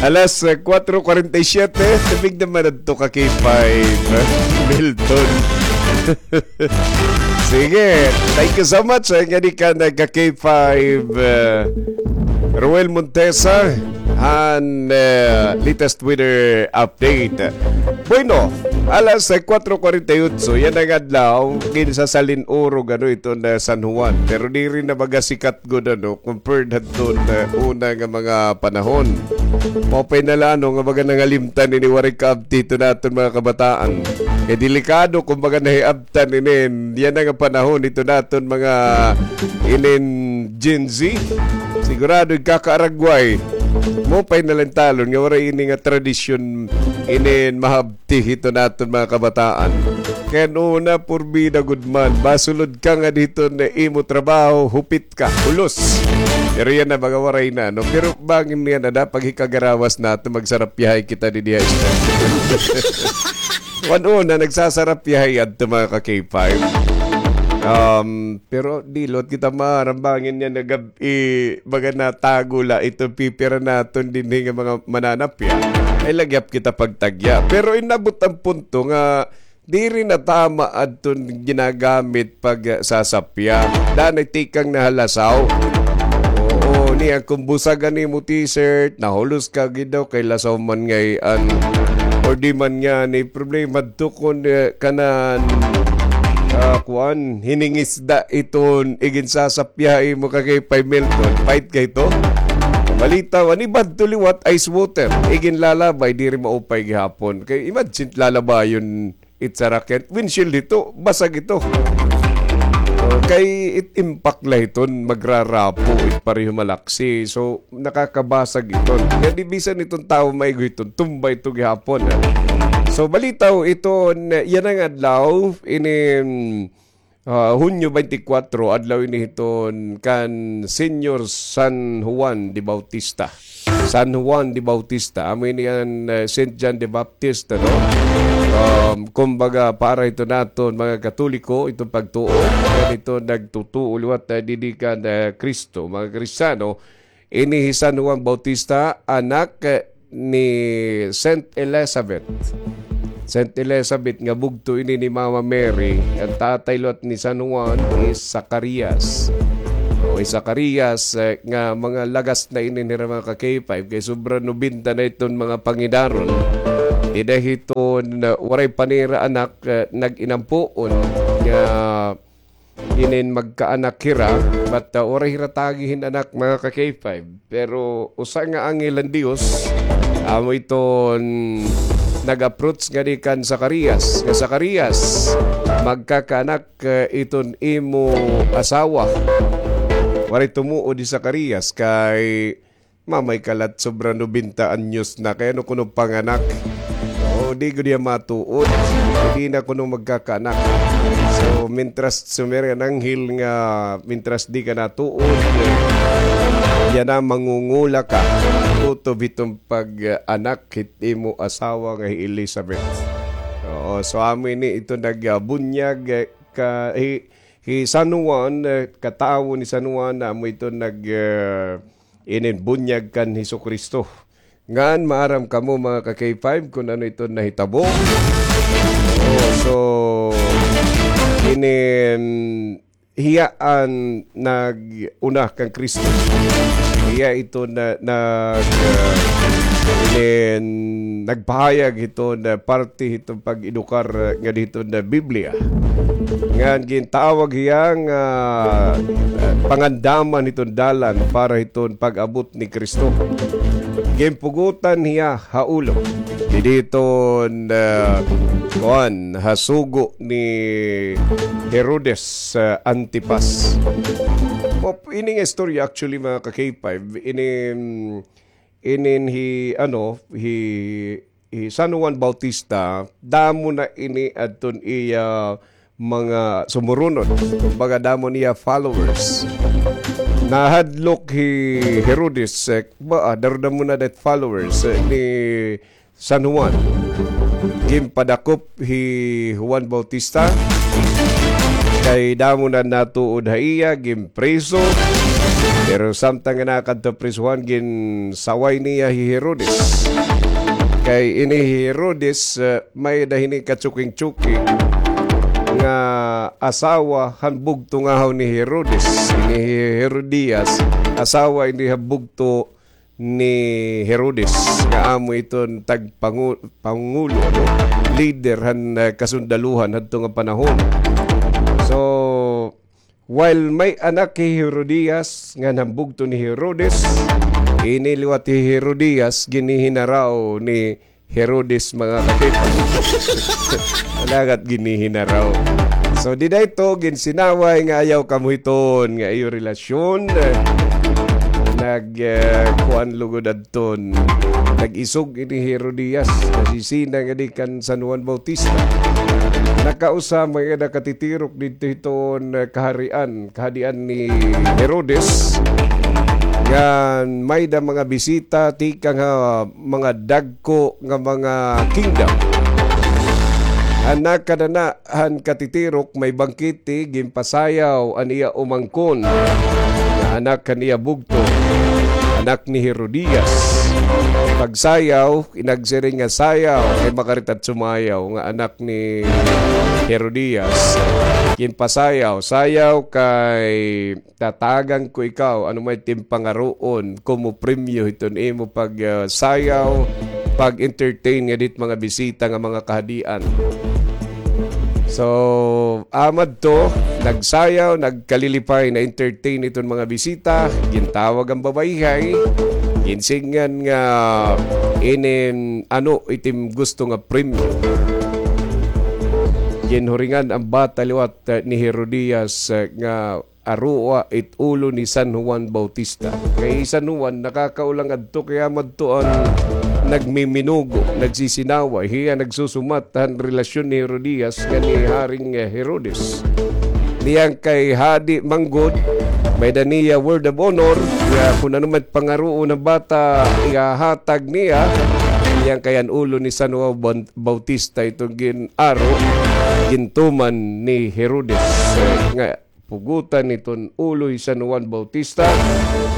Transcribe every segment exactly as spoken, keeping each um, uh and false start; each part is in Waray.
Alas, eh, kwatro kwarenta y siyete, tubig naman adto ka K five, Milton. Sige, thank you so much, eh, nga di ka nagka K five, eh, Roel Montesa, han, eh, latest weather update. Bueno, alas, eh, kwatro kwarenta y otso, yana nga adlaw, ginsasalin-urog, ano, iton, eh, San Juan. Pero diri na magasikat gud, ano, compared hadton, eh, una nga mga panahon. Maupay na la, ano, nga baga nangalimtan ini waray kaabti iton aton mga kabataan. Kay delikado kon baga nahiabtan inin yana nga panahon iton aton mga inin Gen Z. Sigurado igkakaaragway. Maupay na la talon nga waray ini nga tradisyon inin mahab- ti hiton aton mga kabataan. Kay an una, purbida gud man, masulod ka ngada hiton imo trabaho, hupit ka, hulos. Pero yana, mga waray na, no? Pero bangin yana, dapat hikagarawas naton, magsarapyahay kita didi ha istasyon. An una, nagsasarapyahay adto, mga ka K five. Um, pero di liwat kita maaram bangin yana nga gab-i, baga natago la iton pipira naton dinhi nga mga mananapya. Ay, lagyap kita pagtagya. Pero inabot an punto nga diri na tama adton ginagamit pagsasapya. Danay tikang na ha lasaw. Oo, niyan kon busag an imo t-shirt, nahulos ka gid daw kay lasaw man ngay-an. Or di man ngani problema adto kon, eh, kanan, ah, kuan, hiningisda iton iginsasapya ha imo ka K five, Milton. Pait kay ito. Balita, an iba adto liwat ice water. Iginlalabay, diri maupay gihapon. Kay imagine, lalabayon it saraken. Windshield ito, basag ito. So, kay it impact la iton, magrarapo it pareho malaksi. So, nakakabasag iton. Kay di bisan iton tawo maigo iton, tumba ito gihapon, eh. So, balita, o, iton yana nga adlaw, ini, mm, ah, Hunyo twenty-four, adlaw ini hiton kan Señor San Juan de Bautista. San Juan de Bautista, amo ini an, eh, Saint John the Baptist, ano? Um, kumbaga, para ito naton mga Katoliko, itong pagtuo, yan ito nagtutuo liwat, eh, didi kan, eh, Kristo, mga Kristiyano. Ini hi San Juan Bautista, anak, eh, ni Saint Elizabeth. Saint Elizabeth nga bugto ini ni Mama Mary, an tatay liwat ni San Juan is Zacarias. O, hi Zacarias, eh, nga mga lagas na ini nira, mga ka K five, kay sobra nobenta na iton mga pangidaron. Dida hiton, eh, waray pa nira anak, eh, nag-inampuon nga inin magkaanak hira, but, uh, waray hira tagi hin anak, mga ka K five. Pero usa nga anghel han Dios, amo iton nag-approach ngadi kan Zacarias, nga, "Zacarias, magkakaanak, uh, iton imo asawa. Waray tumuod hi Zacarias kay mamay ka la, sobra nobenta anyos na, kay ano kuno panganak?" O, di gud hiya matuod. Di na kuno magkakaanak. So, mintras sumiri an anghel nga, mintras di ka natuod, yana, mangungula ka. Kutob hiton pag-anak hit imo asawa nga hi Elizabeth. Oo, so amo ini ito nag, ah, bunyag, eh, ka, hi, hi San Juan, eh, katawo ni San Juan, amo ito nag, eh, inin bunyag kan Jesucristo. Ngan maaram kamo, mga ka K five, kun ano iton nahitabo. Oo, so, inin hiya an nag-una kan Kristo. Hiya iton na, nag, ah, inin nagpahayag hiton, ah, parte hiton pag-edukar, ah, ngadi hiton, ah, Biblia. Ngan gintawag hiya nga, ah, pangandaman hiton dalan para hiton pag-abot ni Kristo. Ginpugotan hiya ha ulo. Didi hiton, ah, kuan, ha sugo ni Herodes, ah, Antipas. O, ini nga istorya, actually, mga ka K five, ini, inin hi, ano, hi, hi San Juan Bautista, damo na ini adton iya mga sumurunon. Kumbaga, damo niya followers. Nahadlok hi Herodes, eh, ba, ah, daro-damo na dat followers, eh, ni San Juan. Ginpadakop hi Juan Bautista. Kay damo na natuod ha iya, ginpriso. Pero samtang nga nakadto prisuhan, ginsaway niya hi Herodes. Kay ini hi Herodes, eh, may-ada hini katsuking-tsuking nga asawa han bugto ngahaw ni Herodes. Ini hi Herodias, asawa ini ha bugto ni Herodes, nga amo iton tagpangu-, pangulo, ano, leader han, eh, kasundaluhan hadto nga panahon. So, while may anak hi Herodias, nga han bugto ni Herodes, ini liwat hi Herodias, ginihinaraw ni Herodes, mga kakipa. Alagat ginihinaraw. So, dida ito, ginsinaway nga ayaw kamo hiton nga iyo relasyon. Nag, eh, kuan lugod adton. Nag-isog ini Herodias. Nasisina nga di kan San Juan Bautista. Nakausa, mga nakatitirok dito hiton, eh, kaharian, kahadian ni Herodes. Nga may-ada mga bisita, tikang ha mga dagko nga mga kingdom. Anak kadana han katitirok may bangkete, ginpasayaw an iya umangkon nga anak han iya bugto, anak ni Herodias. Pagsayaw, inagsiring nga sayaw, kay makarit at sumayaw nga anak ni Herodias. Ginpasayaw, sayaw kay tatagan ko ikaw, ano may timpangaroon, komo premyo hiton imo pag, ah, sayaw, pag-entertain nga dit mga bisita nga mga kahadian. So, amad to, nagsayaw, nagkalilipay, na-entertain iton mga bisita, gintawag ang babayhay, ginsingan nga inin ano itim gusto nga premyo. Ginhuringan ang bata liwat, eh, ni Herodias, eh, nga aroa it ulo ni San Juan Bautista. Kay San Juan, nakakaulang adto, kay amad to an nagmiminugo, nagsisinaway, hiya nagsusumat han relasyon ni Herodias ngan ni Haring, eh, Herodes. Niyan kay hadi manggod, may-ada niya word of honor, nga kun ano man pangaroon han bata, ihahatag niya, niyan kay an ulo ni San Juan Ban-, Bautista iton gin-aro, gintuman ni Herodes, eh, nga pugutan iton ulo hi San Juan Bautista,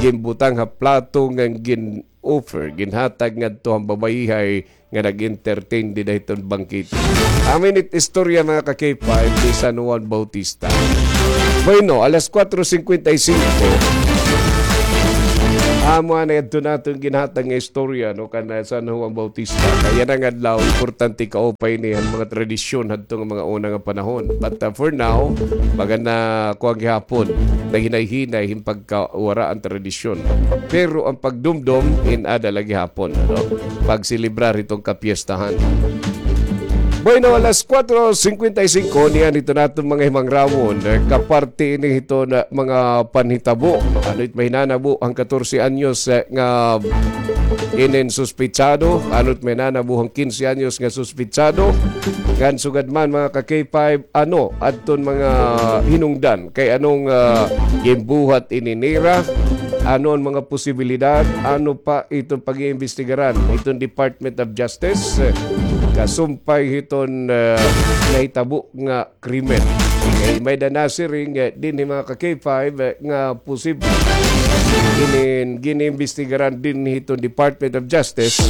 ginbutang ha plato ngan gin-offer, ginhatag ngadto han babayhay nga nag-entertain dida hiton bangkete. Amo ini it istorya, mga ka-K five, ni San Juan Bautista. Bueno, alas kuwatro singkwenta y singko, amo anay adto naton ginhatag nga istorya, no, kan, ah, San Juan Bautista. Kay yana nga adlaw, importante kaupay ini han mga tradisyon hadto nga mga una nga panahon. But, ah, for now, baga na kuan gihapon, naghinay-hinay hin pagkawara an tradisyon. Pero an pagdumdom, in-ada la gihapon, ano? Pagselebrar hiton kapiyestahan. Bueno, alas kuwatro singkwenta y singko, niyan hito naton mga himangrawon. Eh, kaparte ini hiton mga panhitabo. Ano it mahinanabo han katorse anyos, eh, nga inin suspitsado? Ano it mahinanabo han kinse anyos nga suspitsado? Ngan sugad man, mga ka-K five, ano adton mga hinungdan? Kay anong, ah, ginbuhat ini nira? Ano an mga posibilidad? Ano pa iton pag-iimbestigaran hiton Department of Justice, eh, kasumpay hiton, eh, nahitabo nga krimen? Kay may-ada nasiring, eh, dinhi, mga ka-K five, eh, nga posible inin giniimbestigaran dinhi hiton Department of Justice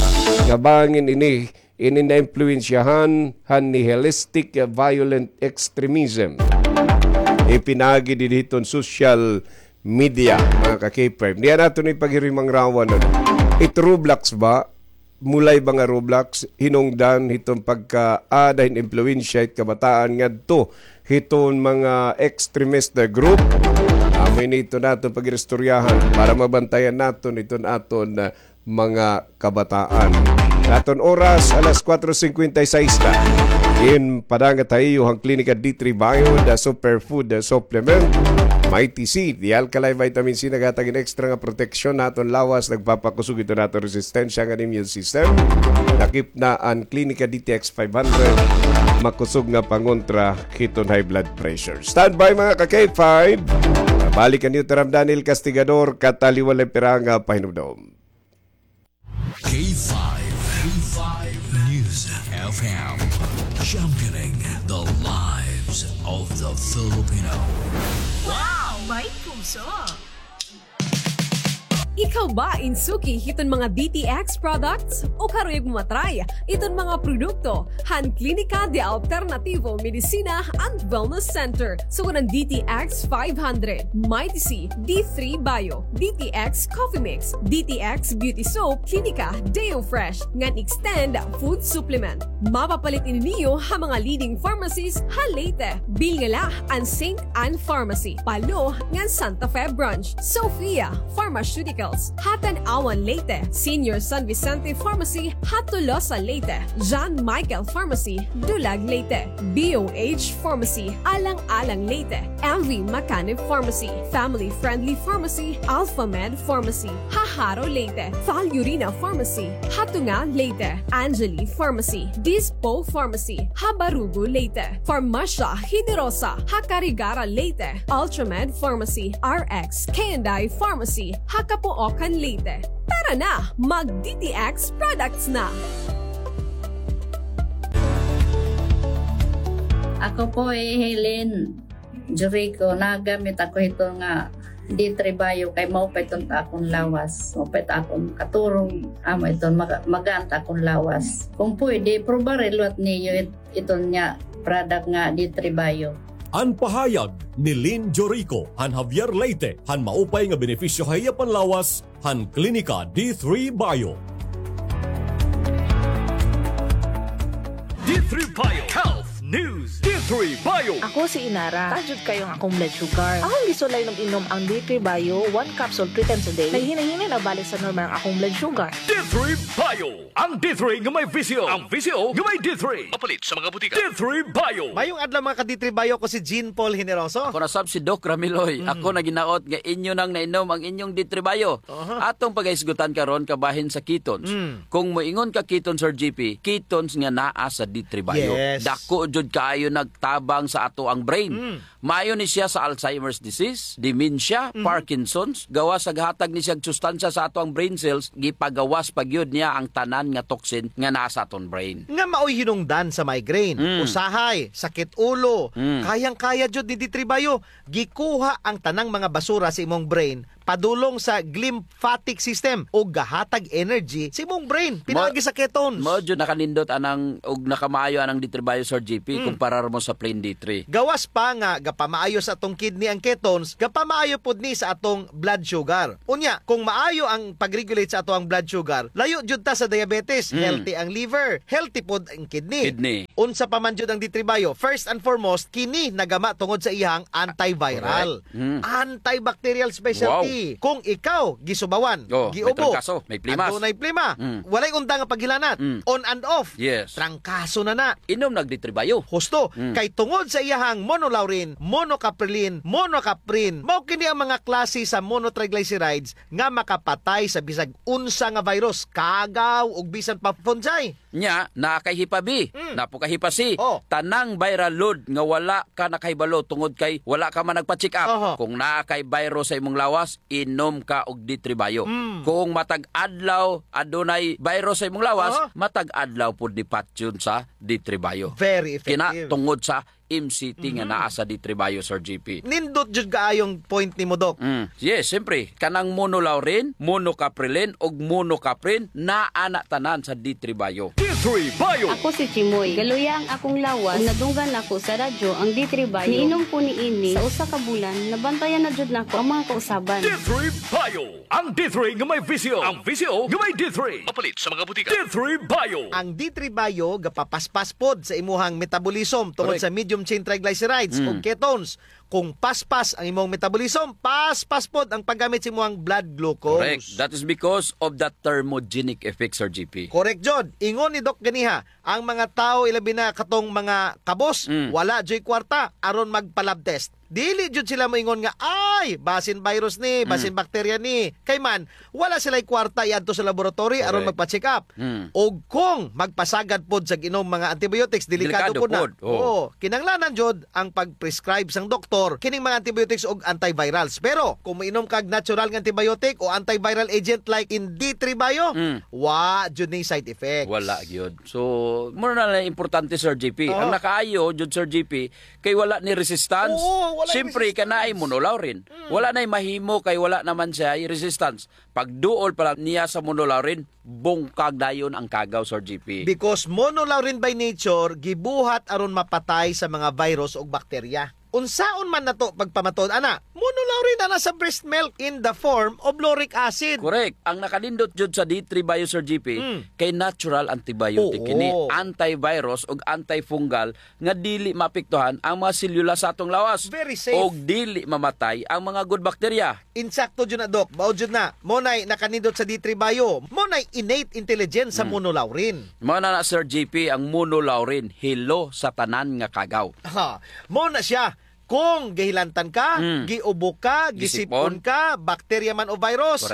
nga bangin ini ini naimpluwensyahan han nihilistic, eh, violent extremism. Ipinaagi dinhi hiton social media, mga ka-K five. Niyan naton ipaghirimangrawon, ano? It Roblox ba? Mulay ba nga Roblox? Hinungdan hiton pagkaada hin impluwensya hit kabataan ngadto hiton mga extremist, eh, group. Amo ini iton aton pag-iristoryahan para mabantayan naton iton aton, ah, mga kabataan. Aton oras, alas kuwatro singkwenta y sais na. Ginpadangat ha iyo han Klinika D three Bio, the superfood, the supplement. Mighty C, the alkaline vitamin C, naghatag hin extra nga proteksyon ha aton lawas, nagpapakusog hiton aton resistensya ngan immune system. Lakip na an Klinika D T X five hundred, makusog nga pangontra hiton high blood pressure. Standby, mga ka-K five. Balik an iyo tiram Daniel Castigador, kataliwan la piranga pahinumdom. K five, K five News F M, championing the lives of the Filipino. Wow! May puso! Ikaw ba in suki hiton mga D T X products? O karuyag mo matry iton mga produkto han Klinika de Alternativo Medicina and Wellness Center? Sugad han D T X five hundred, Mighty C, D three Bio, D T X Coffee Mix, D T X Beauty Soap, Klinika Deo Fresh, ngan Extend Food Supplement. Mapapalit ini niyo ha mga leading pharmacies ha Leyte. Bilngala an Saint Ann Pharmacy, Palo, ngan Santa Fe Branch, Sophia Pharmaceuticals, ha Tanauan, Leyte, Senior San Vicente Pharmacy, ha Tolosa, Leyte, John Michael Pharmacy, Dulag, Leyte, B O H Pharmacy, Alang-alang, Leyte, M V Macanib Pharmacy, Family Friendly Pharmacy, Alpha Med Pharmacy, ha Jaro, Leyte, Fal Urina Pharmacy, ha Tunga, Leyte, Angeli Pharmacy, Dispo Pharmacy, ha Barugo, Leyte, Farmacia Generosa, ha Carigara, Leyte, Ultramed Pharmacy, R X K and I Pharmacy, ha Capoocan, Leyte. Tara na, mag D T X products na! Ako po hi Helen Jorico, nagamit ako hito nga D three Bio kay maupay iton ta akon lawas. Maupay ta akon katurog, amo iton maga-, magaan ta akon lawas. Kung pwede, probari liwat niyo it-, iton nga product nga D three Bio. An pahayag ni Lynn Jorico han Javier, Leyte, han maupay nga benepisyo ha iya panlawas han Klinika D three Bio. D three Bio Health News. D three Bio. Ako si Inara. Taas jud kaayo ang akong blood sugar. Akong gisulay nag-inom ang D three Bio, one capsule three times a day. Naghinay-hinay na balik sa normal ang akong blood sugar. D three Bio. Ang D three nga may visyo. Ang visyo nga may D three. Mapalit sa mga butika. D three Bio. Mayong adlaw, mga ka-D three Bio, ko si Jean Paul Generoso. Ako na sab si Doc Ramiloy. Mm. Ako naghinaot nga inyo nang nainom ang inyong D three Bio. Aha. Atong pagahisgutan karon kabahin sa ketones. Mm. Kung moingon ka ketones, Sir G P, ketones nga naa sa D three Bio. Yes. Dako jud kaayo nagtabang sa ato ang brain. Mm. Maayo ni siya sa Alzheimer's disease, dementia, mhm, Parkinson's, gawas sa gahatag ni siya sustansya sa ato ang brain cells, gipagawas pa gyud niya ang tanan nga toxin nga naa sa aton brain. Nga maoy hinungdan sa migraine, mm, usahay, sakit ulo, mm, kayang-kaya jud ni D three Bio. Gikuha ang tanang mga basura sa imong brain padulong sa glymphatic system ug gahatag energy sa imong brain pinaagi sa ketones. Mao jud nakanindot anang ug nakamaayo anang D three Bio, Sir G P, mm, kumparar mo sa plain D three. Gawas pa nga gapamaayo sa atong kidney ang ketones, gapamaayo pod ni sa atong blood sugar. Unya, kung maayo ang pag-regulate sa ato ang blood sugar, layo jud ta sa diabetes, mm, healthy ang liver, healthy pod ang kidney. Kidney. Unsa pa man jud ang D three Bio? First and foremost, kini nagama tungod sa iyang antiviral. Correct. Mm. Antibacterial specialty. Wow. Kung ikaw gisubawan, oh, may giubo, trangkaso, may plimas, adunay plima, mm, walay undang nga paghilanat, mm, on and off, yes, trangkaso na na. Inom nag D three Bio. Husto, mm, kay tungod sa iyahang monolaurin, monocaprilin, monocaprin, mao kini ang mga klase sa monotriglycerides nga makapatay sa bisag unsa nga virus, kagaw ug bisan pa fungi. Nya, naa kay Hepa B, mm, naa pod kay Hepa C. Oh. Tanang viral load nga wala ka nakahibalo tungod kay wala ka man nagpa-check up. Aha. Kung naa kay virus sa imong lawas, inom ka og D three Bio. Mm. Kung matag adlaw adunay virus sa imong lawas, aha, matag adlaw pod ni patyon sa D three Bio. Very effective. Kina tungod sa M C T nga, mhm, naa sa D three Bio, Sir G P. Nindot jud kaayong point nimo, Doc. Mm. Yes, siyempre, kanang monolaurin, monocaprilin, ug monocaprin, naa na tanan sa D three Bio. D three Bio. Ako si Chimoy. Galuya ang akong lawas ug nadunggan nako sa radyo ang D three Bio. Niinom ko niini sa usa ka bulan, nabantayan na jud nako ang mga kausaban. D three Bio. Ang D three nga may visyo. Ang visyo nga may D three. Mapalit sa mga butika. D three Bio. Ang D three Bio gapapaspas pod sa imuhang metabolism tungod, correct, sa medium chain triglycerides, mm, o ketones. Kung paspas ang imong metabolism, paspas pod ang paggamit sa imuhang blood glucose. Correct. That is because of the thermogenic effect, Sir G P. Correct jud. Ingon ni Doc ganiha, ang mga tawo, ilabi na katong mga kabos, mm, wala juy kwarta aron magpa-lab test. Dili jud sila moingon nga, "Ay, basin virus ni, basin, mm, bakterya ni." Kay man, wala sila'y kwarta iadto sa laboratory aron, correct, magpa-check up. Mm. Ug kung magpasagad pod sa ginom mga antibiotics, delikado, delikado pod na, pod. Oo. Oo, kinahanglanan jud ang pag-prescribe sang doktor kining mga antibiotics ug antivirals. Pero kung moinom kag natural nga antibiotic o antiviral agent like in D three Bio, mm, wa jud ni side effects. Wala gyud. So, mura na lang importante, Sir G P. Oo. Ang nakaayo jud, Sir G P, kay wala ni resistance. Oo, Siyempre, kay naay monolaurin. Wala nay mahimo kay wala naman siya resistance. Pagduol pa lang niya sa monolaurin, bungkag dayon ang kagaw, Sir G P. Because monolaurin by nature, gibuhat aron mapatay sa mga virus ug bakterya. Unsaon man nato pagpamatud ana? Monolaurin ana sa breast milk in the form of lauric acid. Correct. Ang nakanindot jud sa D three Bio, Sir G P, kay natural antibiotic kini, antivirus ug antifungal nga dili maapektuhan ang mga selula sa atong lawas. Very safe. Ug dili mamatay ang mga good bacteria. Insakto jud na, Doc. Mao jud na. Mao nay nakanindot sa D three Bio. Mao nay innate intelligence sa monolaurin. Mao na na, Sir G P, ang monolaurin, hilo sa tanan nga kagaw. Ha, mao na siya. Kung gihilantan ka, giubo ka, gisip-on ka, bakterya man o virus,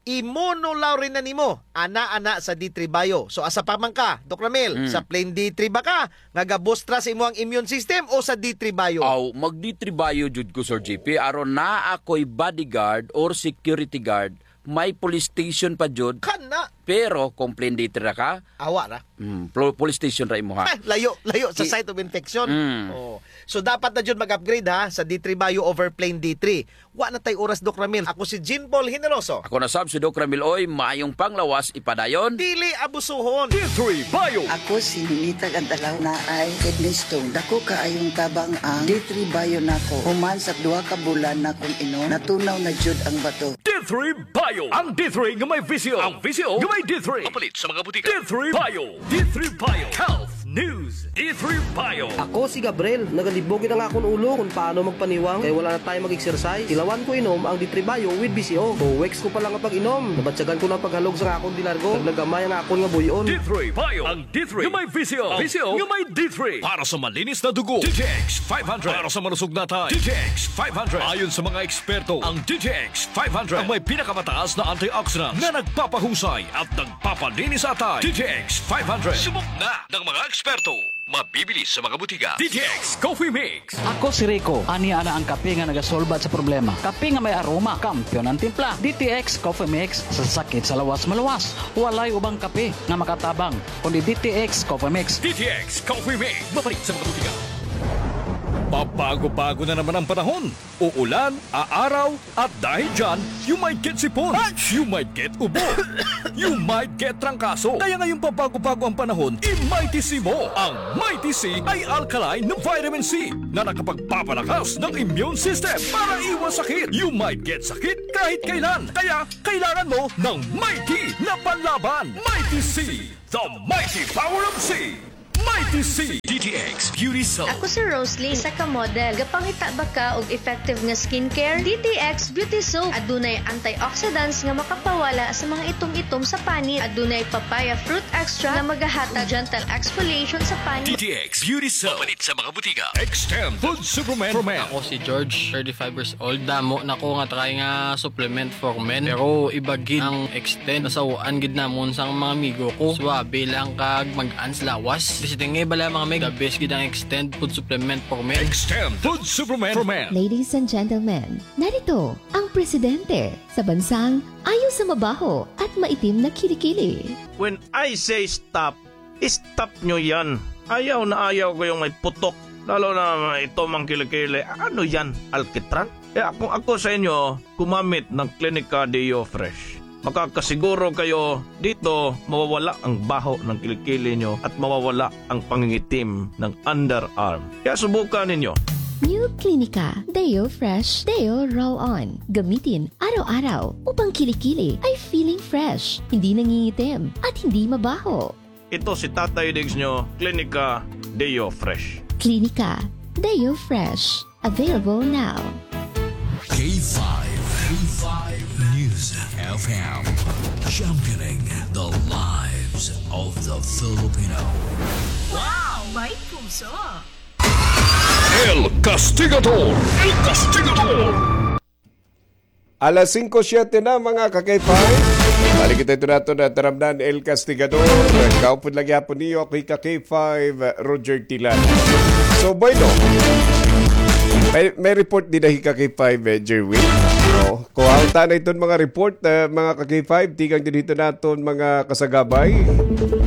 i-monolaurin na nimo. Ana, ana sa D three Bio. So, asa pa man ka, Doc Ramil? Sa plain D three ba ka? Nga gabustra sa imo ang immune system o sa D three Bio? Aw, mag D three Bio jud ko, Sir G P. Aron naa ako'y bodyguard or security guard, may police station pa jud. Kana. Pero kung plain D three ra ka, awa ra. Mm, pol- police station ra imo, ha? Layo, layo sa site of infection. Oh. So, dapat na jud mag-upgrade, ha, sa D three Bio over plain D three. Wa na tay oras, Doc Ramil. Ako si Jean Paul Generoso. Ako na sab si Doc Ramil Oy, maayong panglawas ipadayon. Dili abusuhon. D three Bio. Ako si Ninita Gantalaw, naay kidney stone. Dako kaayong tabang ang D three Bio nako. Human sa duha ka bulan nakong inom, natunaw na jud ang bato. D three Bio. Ang D three nga may V C O. Ang V C O nga may D three. Mapalit sa mga butika. D three Bio. D three Bio. Health News. D three Bio. Ako si Gabriel. Nagalibog gid ang akon ulo kung paano magpaniwang kay wala na tayo mag-exercise. Ilawan ko inom ang D three Bio with V C O. Two weeks ko pa lang nga pag-inom, nabatyagan ko na ang paghalog sa akon dilargo. Naglagamay ang akon nga buy-on. D three Bio. Ang D three nga may V C O. V C O nga may D three. Para sa malinis na dugo, D T X five hundred. Para sa malusog na atay, D T X five hundred. Ayon sa mga eksperto, ang D T X five hundred ang may pinakamataas na antioxidants na nagpapahusay at nagpapalinis sa atay. D T X five hundred. Subok na ng mga eksperto. Mabibili sa mga butika. D T X Coffee Mix. Ako si Rico. Ania na ang kape nga nagasolbat sa problema. Kape nga may aroma. Kampiyon ang timpla. D T X Coffee Mix. Sa sakit sa lawas, maluwas. Walay ubang kape nga makatabang kundi D T X Coffee Mix. D T X Coffee Mix. Mapalit sa mga butika. Pabago-bago na naman ang panahon. Uulan, aaraw, at dahil dyan, you might get sipon, you might get ubo, you might get trangkaso. Kaya ngayong pabago-bago ang panahon, i-Mighty C mo. Ang Mighty C ay alkaline na vitamin C na nakapagpapalakas ng immune system para iwas sakit. You might get sakit kahit kailan. Kaya kailangan mo ng Mighty na panlaban. Mighty C, the mighty power of C. Mighty C. D T X Beauty Soap. Ako si Rosalie, isa ka model. Gapangita ba ka og effective nga skincare? D T X Beauty Soap. Adunay antioxidants nga makapawala sa mga itom-itom sa panit. Adunay papaya fruit extract nga magahatag gentle exfoliation sa panit. D T X Beauty Soap. Mapalit sa mga butika. Extend Food Supplement for Men. Ako si George, thirty-five years old. Damo na ko nga try nga supplement for men. Pero iba gid ang Extend. Nasaw-an gid namon sang mga amigo ko. Suabe lang kag mag-an sa lawas. Basta nga bala mga meg, the best gid ang Extend food supplement for men. Extend food supplement for men. Ladies and gentlemen, narito ang presidente sa bansang ayaw sa mabaho at maitim na kilikili. When I say stop, stop nyo yan. Ayaw na ayaw ko yung may putok. Lalo na ito mang kilikili. Ano yan? Alkitran? Kaya kung ako sa inyo, gumamit ng Clinica Deo Fresh. Makakasiguro kayo dito mawawala ang baho ng kilikili nyo at mawawala ang pangingitim ng underarm. Kaya subukan ninyo. New Clinica Deo Fresh Deo Roll On. Gamitin araw-araw upang kilikili ay feeling fresh, hindi nangingitim, at hindi mabaho. Ito si Tatay Diggs nyo, Clinica Deo Fresh. Clinica Deo Fresh. Available now. K five, K five News F M, championing the lives of the Filipino. Wow! May puso! El Castigador! El Castigador! Alas singko siyete na, mga ka-K five. Balik kita ito nato na taramdan, El Castigador. Kaupod lang yapon niyo, ako ka-K five, Roger Tilan. So, bueno, may, may report din na hika-K five, eh, Jerwin. Oh, kuhaon ta na iton mga report, eh, mga ka-K five, tikang dinhi hiton aton mga kasagabay.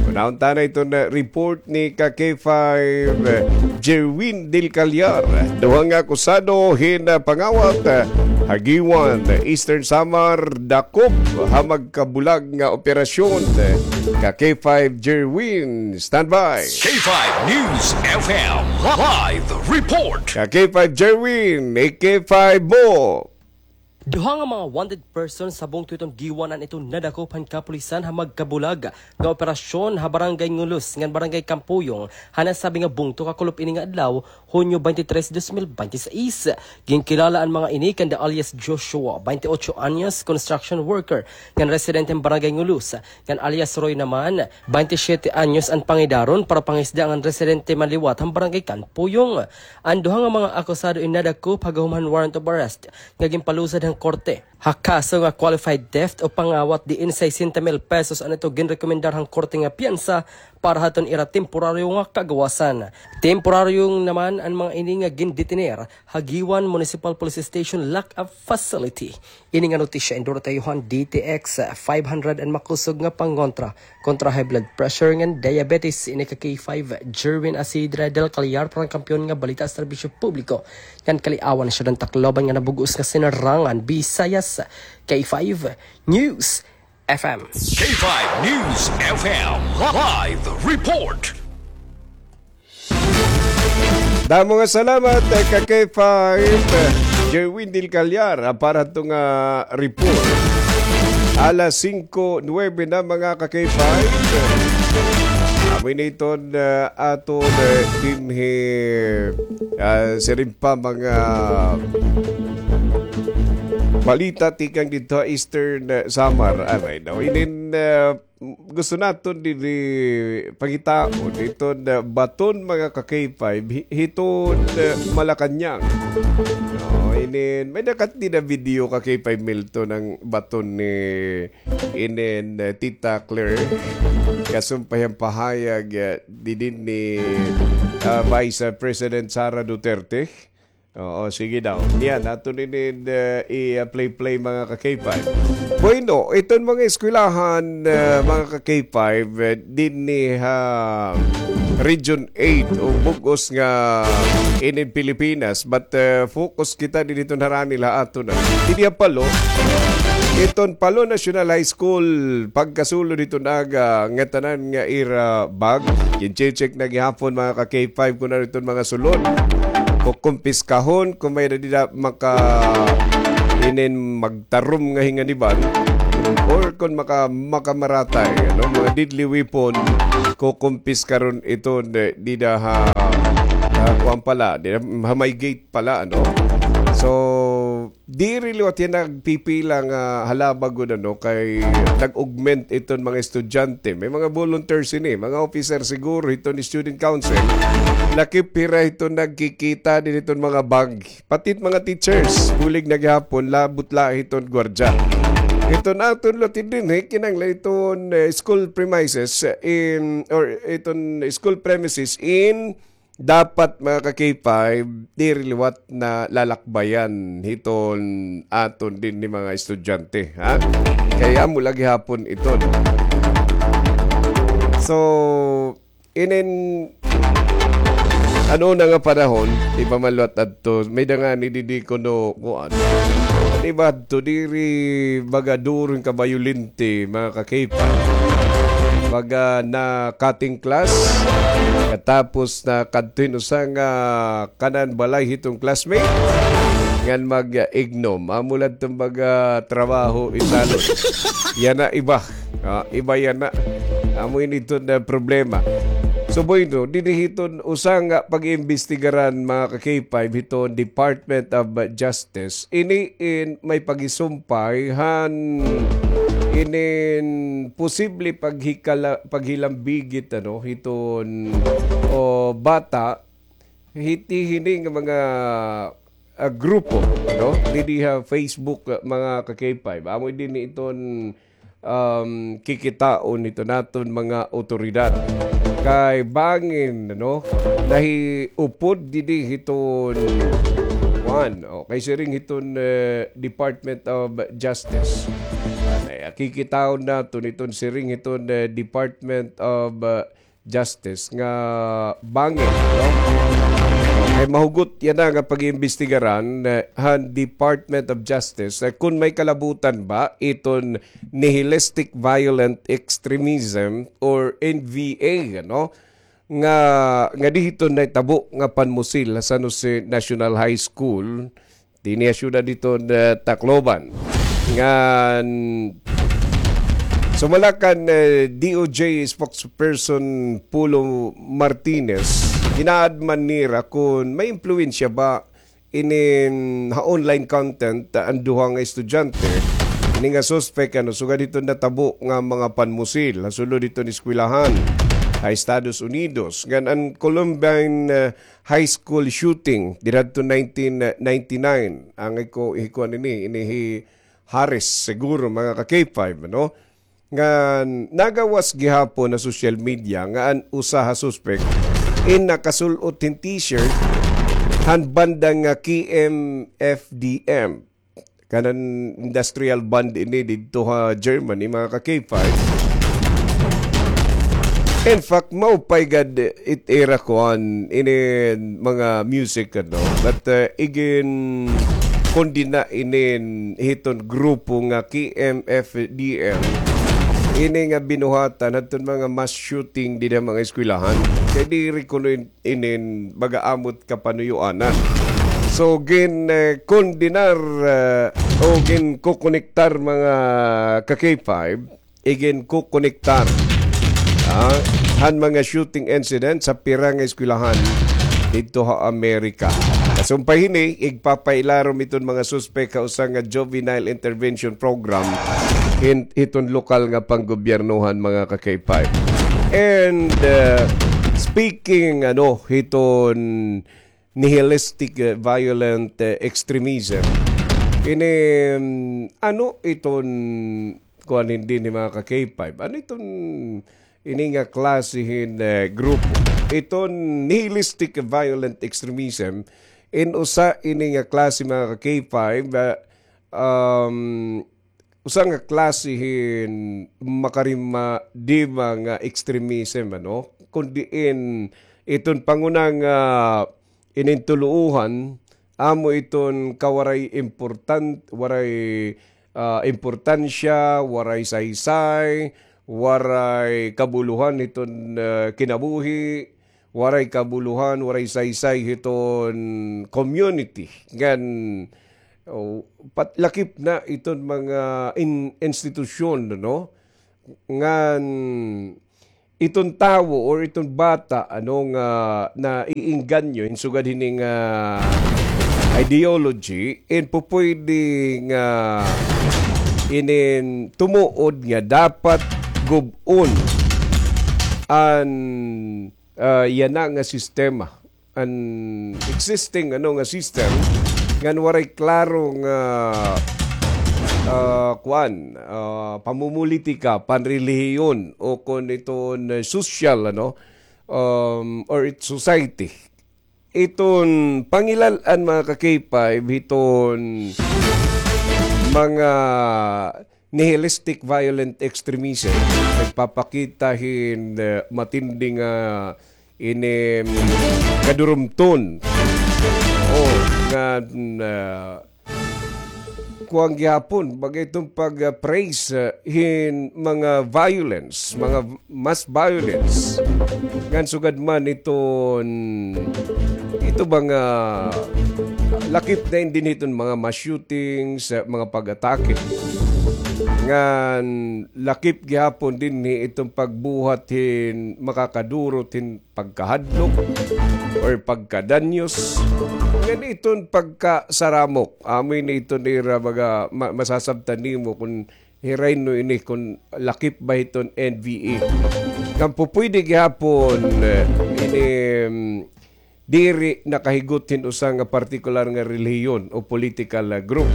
Kuhaon ta na iton, eh, report ni ka-K five, eh, Jerwin Del Callar. Duha nga akusado hin, eh, pangawat, eh, ha Guiuan, Eastern Samar, dakop ha magkabulag nga operasyon, eh, ka-K five Jerwin. Standby. K five News F M live report. Ka-K five Jerwin, i-K five mo. Duha nga mga wanted persons ha bungto hiton Guiuan an iton nadakop han kapulisan ha magkabulag nga operasyon ha Barangay Ngulus ngan Barangay Kampuyong ha nasabi nga bungto kakulop ini nga adlaw, Hunyo twenty-three, dos mil binte y seis. Ginkilala an mga ini kanda alias Joshua, twenty-ocho anyos, construction worker, ngan residente han Barangay Ngulus, ngan alias Roy naman, twenty-siete anyos an pangidaron, para pangisda ngan residente man liwat han Barangay Kampuyong. An duha nga mga akusado in nadakop ha gahom han warrant of arrest nga ginpalusad han korte ha kaso nga qualified theft o pangawat, diin sesenta mil pesos an ito ginrekomendar han korte nga piyansa para hadton ira temporaryo nga kagawasan. Temporaryo naman an mga ini nga gindetener ha Guiuan Municipal Police Station lock-up facility. Ini nga notisya endorso han D T X five hundred an makusog nga pangontra kontra high blood pressure ngan diabetes. Ini ka K five, Jerwin Asidra del Callar, para han kampiyon nga balita, serbisyo publiko ngan kaliawan, siyudad han Tacloban nga nabug-os nga sinarangan, Visayas, K five News F M. K five News F M live report. Damo nga salamat, eh, ka K five, eh, Jerwin Del Callar, ah, para hadto nga report. Alas singko nuwebe na, mga ka K five. Amo ini iton, eh, aton, eh, dinhi, ah, siring pa mga balita tikang didto ha Eastern, eh, Samar. Aray, no? Inin, eh, gusto naton dinhi pangitaon iton, ah, baton, mga ka K five, hi-, hiton, ah, Malacañang. No, inin, may nakat-, dida video, ka K five Milton, an baton ni inin, ah, Tita Claire. Kasumpay han pahayag, ah, didin ni, ah, Vice President Sara Duterte. Oo, sige daw. Niyan, aton ini, uh, i-play-play, mga ka K five. Bueno, iton mga eskwelahan, uh, mga ka K five, uh, dinhi ha Region eight o bug-os nga inin Pilipinas, but, uh, focus kita dinhi hiton harani la aton na. Dinhi ha Palo, iton Palo National High School, pagkasulod hiton aga, ngatanan nga ira bag, ginche-check na gihapon, mga ka K five, kun ano iton mga sulod. Kukumpiskahon kun may-ada dida maka-, inin magtarom nga hinganiban, or kun maka-, makamaratay, ano, mga deadly weapon, kukumpiska ron iton, eh, dida ha, ha kuan pala, dida ha may gate pala, ano. So, diri liwat hiya nagpipila nga halaba gud, ano, kay nag-augment iton mga estudyante. May mga volunteers ini, mga officer siguro hiton student council. Lakip hira hiton nagkikita dinhi hiton mga bag. Pati it mga teachers, bulig na gihapon, labot la hiton gwardiya. Iton aton lote dinhi, kinahanglan iton, eh, school premises in, or iton school premises in dapat, mga ka K five, diri liwat na lalakbayan hiton aton dinhi mga estudyante, ha? Kay amo la gihapon iton. So, inin, ano na nga panahon, di ba, maluwat adto, may-ada ngani didi kuno kuan. Di ba, adto diri baga duro hin kabayolente, mga ka K five. Baga na-cutting class, katapos nakadto hin usa nga kanan balay hiton classmate, ngan mag-ignom. Amo la adto baga trabaho isalon. Yana iba. Ah, iba yana. Amo ini iton, ah, problema. So, bueno, dinhi hiton usa nga pag-iimbestigaran, mga ka K five, hiton Department of Justice. Ini in may pagisumpay han inin posible paghikala-, paghilambigit, ano, hiton, o, bata, hiti hini nga mga, ah, grupo, no? Didi ha Facebook, ah, mga ka K five. Amo dinhi iton, um, kikitaon hiton aton mga awtoridad. Kay bangin, no? Nahiupod didi hiton An, okay, siring hiton, eh, Department of Justice. Ay, kikitaon naton iton siring hiton, eh, Department of, eh, Justice nga bangin, no? Okay, mahugot yana nga pag-iimbestigaran, eh, han Department of Justice, eh, kun may kalabutan ba iton nihilistic violent extremism or N V A, no? Nga, nga didto nahitabo nga panmusil ha San Jose National High School, dinhi ha syudad hiton, eh, Tacloban. Ngan, sumala kan, eh, D O J spokesperson Polo Martinez, ginaadman nira kun may impluwensya ba inin ha online content, ah, an duha nga estudyante, ini nga suspek, ano, sugad hiton natabo nga mga panmusil ha sulod hiton eskwelahan ha Estados Unidos. Ngan an Columbine, ah, High School shooting didto nineteen ninety-nine. Angay ko hikuan ini, ini hi Harris, siguro, mga ka-K five, ano? Nga nagawas gihapon ha social media nga an usa ha suspek in nakasul-ot hin t-shirt han banda nga K M F D M. Kanan industrial band ini didto ha Germany, mga ka-K five. In fact, maupay gad it ira kuan ini mga music, ano. But, uh, igin kondena inin hiton grupo nga K M F D M. Ini nga binuhatan hadton mga mass shooting dida mga eskwelahan. Kay diri kuno in-, inin baga amo it kapanuyuanan. So, gin, eh, kondenar, eh, o ginkokonektar mga ka-K five, iginkokonektar, ah, han mga shooting incident sa pira nga eskwelahan didto ha Amerika. Kasumpay hini, igpapailarom iton mga suspek ha usa nga juvenile intervention program hin-, hiton lokal nga panggobyernohan, mga ka-K five. And, uh, speaking, ano, hiton nihilistic, eh, violent, eh, extremism. Ini, mm, ano iton, kuan, hindi ni mga ka-K five? Ano iton ini nga klase hin, eh, grupo? Iton nihilistic violent extremism, in usa ini nga klase, mga ka-K five, ah, um, usa nga klase hin makarimadima nga extremism, ano? Kun diin iton panguna nga inintuluohan, amo iton kawaray important, waray, ah, importansya, waray saysay, waray kabulohan hiton, ah, kinabuhi, waray kabulohan, waray saysay hiton community. Ngan, oh, pat-, lakip na iton mga in-, institusyon, no? Ngan iton tawo or iton bata, ano, nga naiinganyo hin sugad hini nga ideology, in pupwede nga inin tumuod nga dapat gub-on an, ah, yana nga sistema, an existing, ano, nga system, ngan waray klaro nga, ah, kuan, ah, pamumulitika, panrelihiyon, o kon iton, eh, sosyal, ano, um, or it society. Iton pangilal-an, mga ka-K five, hiton mga nihilistic violent extremism, nagpapakita hin, eh, matindi nga ini, mm, kadurumton. Oh, nga, mm, ah, kuan gihapon, baga iton pag, ah, praise, ah, hin mga violence, mga v-, mass violence. Ngan sugad man iton, ito ba nga lakip na inin hiton mga mass shootings, ah, mga pag-atake. Ngan lakip gihapon dinhi iton pagbuhat hin makakadurot hin pagkahadlok or pagkadanyos. Ngan iton pagkasaramok. Amo ini iton ira baga ma-, masasabtan nimo kon hiray no ini kon lakip ba hiton N V A. Ngan pupwede gihapon, eh, ini, mm, diri nakahigot hin usa nga partikular nga relihiyon o political, ah, group.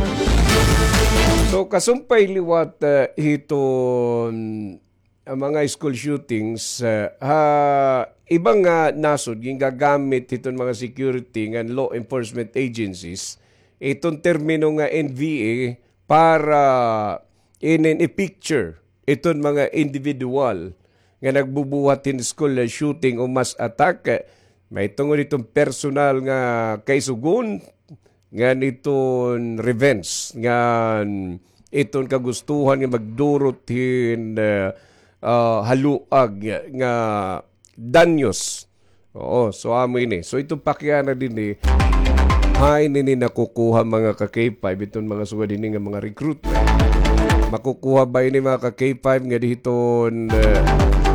So, kasumpay liwat, ah, hiton, ah, mga school shootings, ah, ha iba nga nasod, gingagamit hiton mga security ngan law enforcement agencies iton termino nga N V A para inin i-picture iton mga individual nga nagbubuhat hin school shooting o mass attack, mahitungod iton personal nga kaisugon, ngan iton revenge, ngan iton kagustuhan nga magdurot hin, ah, ah, haluag nga danyos. Oo, so amo ini. So iton pakiana dinhi, hain ini nakukuha, mga ka-K five, iton mga sugad hini nga mga recruitment? Makukuha ba ini, mga ka-K five, nga dihiton, eh,